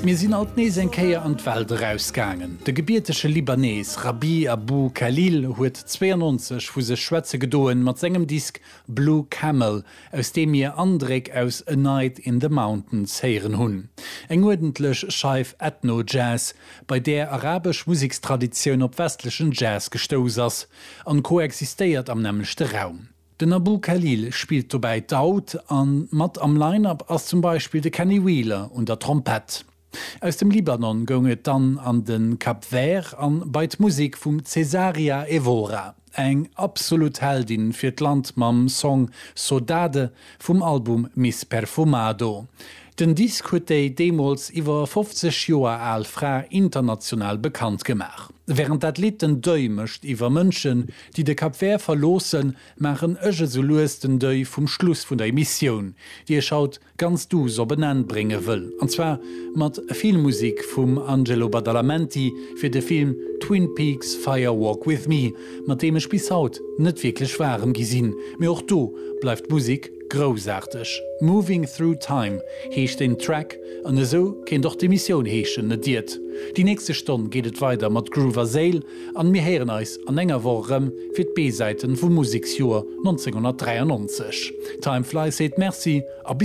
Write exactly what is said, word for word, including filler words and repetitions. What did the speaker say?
Mir sinn alt nees eng Kéier an d'Welt erausgaangen. De gebiertege Libanees Rabih Abou-Khalil huet zwéianonzeg vu sech schwätze gedoen mat sengem Disk Blue Camel, aus deem mir Andréck aus A Night in the Mountains héieren hunn. Eng uerdentlech Scheif Ethno-Jazz, bei där arabesch Musekstraditioun op westlechen Jazz gestouss ass an koexistéiert am nämmlechte Raum. Den Abou-Khalil spillt dobäi d'Oud an mat am Line-up ass zum Beispill de Kenny Wheeler un der Trompett. Aus dem Libanon goung et dann an de Cap Vert an bei d'Musek vum Cesaria Evora, eng absolut Heldin fir d'Land mam Song Sodade vum Album Miss Perfumado. Den Disk huet déi deemools iwwer fofzeg Joer al Fra international bekannt gemaach. Wärend dat Lidd den Deuil mécht iwwer Mënschen, déi de Cap Vert verloossen, maachen ech esou lues den Deuil vum Schluss vun der Emissioun, déi ech haut ganz duuss op en Enn brénge wëll. An zwar mat Filmmusek vum Angelo Badalamenti fir de Film Twin Peaks Fire Walk with Me, mat deem ech bis haut net wierklech waarem gi sinn. Mee och do bleift d'Musek Groussaarteg. Moving Through Time heescht den Track an esou kéint och d'Emissioun heeschen, net iert? Déi nächste Stonn geet et weider mat Groove a Séil an mir héieren eis an enger Woch erëm fir d'B-Säiten vum Museksjoer nonzénghonnertdräiannonzeg. Time Flies seet Merci a bis.